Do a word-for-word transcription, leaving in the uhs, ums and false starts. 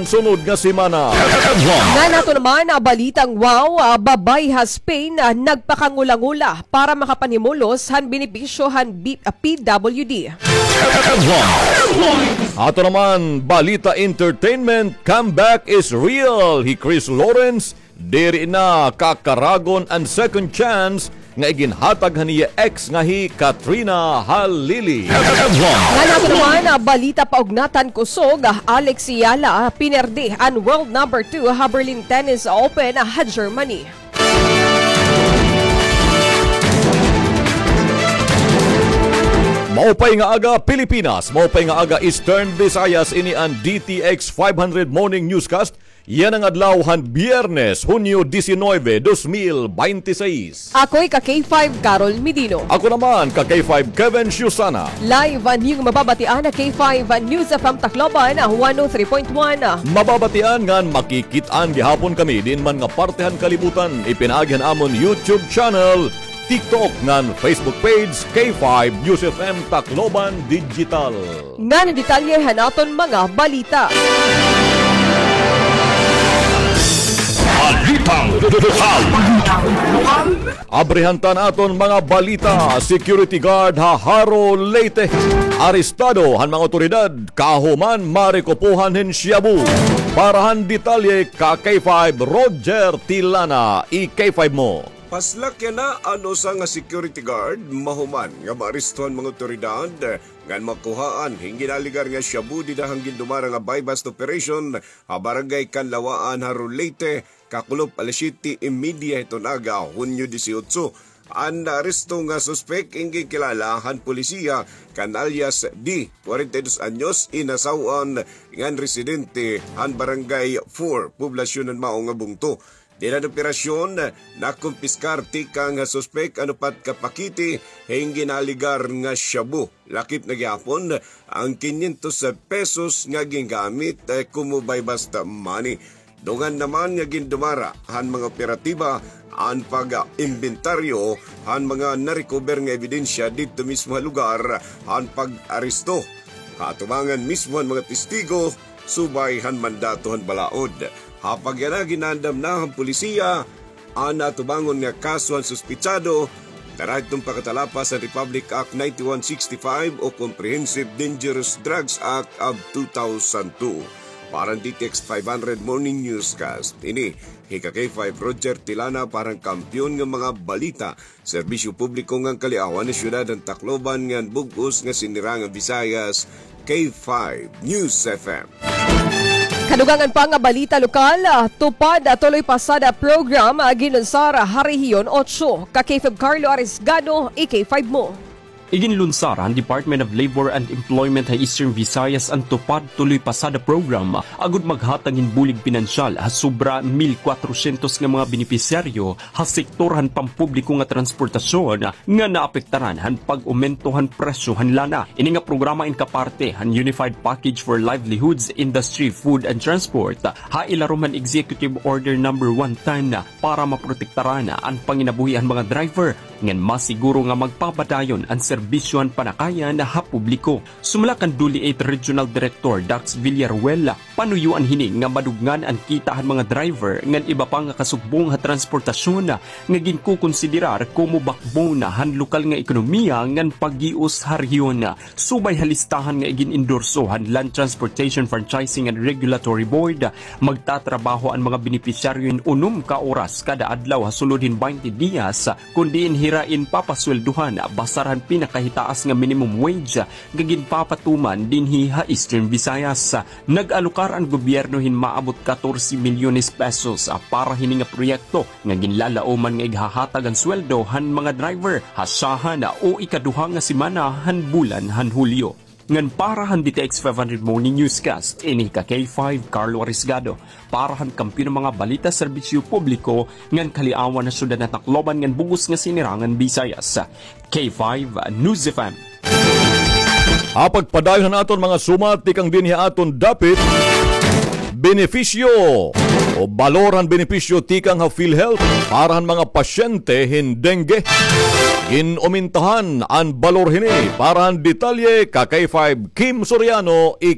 sunod nga semana. Ngan ato naman, ah, balitang wow, ah, babay ha Spain, ah, nagpakangula-ngula para makapanhimulos han benepisyo han B-, ah, P W D. Ato naman, balita entertainment, comeback is real. Hi Chris Lawrence, diri na kakaragon an second chance nga iginhatag han iya ex nga hi Katrina Halili. Ngan ato naman, ah, balita paugnatan kusog, ah, Alex Eala, ah, pinerde an world number two ha Berlin Tennis Open, ah, ha Germany. Maupay nga aga, Pilipinas. Maupay nga aga, Eastern Visayas. Ini an D T X five hundred Morning Newscast. Yana nga adlaw han Biyernes, Hunyo diecinueve, dos mil binte y seis. Ako hi ka K five, Carol Medino. Ako naman, ka K five, Kevin Siusana. Live an iyo mababatian ha K five News F M Tacloban, one oh three point one. Mababatian ngan makikit-an gihapon kami diin man nga parte han kalibutan, ipinaagi han amon YouTube channel, TikTok ngan Facebook page, K five News F M Tacloban Digital. Ngan detalye han aton mga balita. Balitang lokal. Abrihan ta an aton mga balita. Security guard ha Jaro, Leyte, arestado han mga awtoridad kahuman marekupohan hin shabu. Para han detalye, ka K five, Roger Tilana, i K five mo. Paslak yana an usa nga security guard mahuman nga maaresto han mga awtoridad ngan makuhaan hin ginaligar nga shabu dida han gindumara nga buy-bust operation ha Barangay Canlawaan, Jaro, Leyte, kakulop alas siyete y media hiton aga, Hunyo dieciocho. An naaresto nga suspek in ginkilala han polisiya kan alias D, kwarenta y dos anyos, inasaw-an ngan residente han Barangay four, poblasyon han Mao nga bungto. Dida han operasyon, nakumpiskar tikang ha suspek an upat ka pakete hin ginaligar nga shabu. Lakip na gihapon an kinyentos pesos nga gingamit, eh, komo buy-bust money. Dungan naman nga gindumara han mga operatiba an pag-imbentaryo han mga na-recover nga ebidensya didto mismo ha lugar han pag-aresto, ha atubangan mismo han mga testigo, subay han mandato han balaod. Ha pagyanagi, naandam na han polisiya an atubangon nga kaso han suspetsado, dara hiton pakatalapas han Republic Act ninety-one sixty-five o Comprehensive Dangerous Drugs Act of two thousand two. Para han D T X five hundred Morning Newscast, ini hi ka K five, Roger Tilana, para han Kampiyon nga mga Balita, Serbisyo Publiko ngan Kaliawan han Syudad han Tacloban ngan bug-os nga Sinirangan Visayas, K five News F M. Kadugangan pa nga balita lokal, ah, TUPAD, ah, Tuloy Pasada program, ah, ginlunsar ha Rehiyon Otso. Ka K five Carlo Arisgado, i K five mo. Iginlunsar han Department of Labor and Employment ha Eastern Visayas an TUPAD Tuloy Pasada program, agod maghatag hin bulig pinansyal ha sobra mil kwatrosyentos nga mga benepisyaryo ha sektor han pampubliko nga transportasyon nga naapektaran han pag-omento han presyo han lana. Ini nga programa in kaparte han Unified Package for Livelihoods, Industry, Food and Transport ha ilarom han Executive Order number one ten para maprotektaran an panginabuhi han mga driver ngan masiguro nga magpapadayon an serbisyo han panakayan ha publiko. Sumala kan DOLE eight Regional Director Dax Villaruel, panuyoan hini nga madugngan an kita han mga driver ngan iba pa nga kasugbong ha transportasyon nga ginkokonsiderar komo backbone han lokal nga ekonomiya ngan paggios ha rehiyon. Subay ha listahan nga igin-endorso han Land Transportation Franchising and Regulatory Board, magtatrabaho an mga benepisyaryo hin unom ka oras kada adlaw ha sulod hin baynte diyas, kon diin hira in papasweldohan basar han pinakahitaas nga minimum wage nga ginpapatuman dinhi ha Eastern Visayas. Nag-alokar an gobyerno hin maabot katorse milyones pesos para hini nga proyekto nga ginlalaoman nga ighahatag an sweldo han mga driver ha syahan o ikaduha nga semana han bulan han Hulyo. Ngan para han D T X five hundred Morning Newscast, ini ka K five, Carlo Arisgado, para han Kampiyon nga mga Balita, Serbisyo Publiko ngan Kaliawan han Syudad han Tacloban ngan bug-os nga Sinirangan Visayas, K five News F M. Ha pagpadayon han aton mga sumat tikang dinhi ha aton dapit, benepisyo o balor han benepisyo tikang ha PhilHealth para han mga pasyente hin dengue. Gin-umintahan an balor hini. Para han detalye, ka K five Kim Soriano, i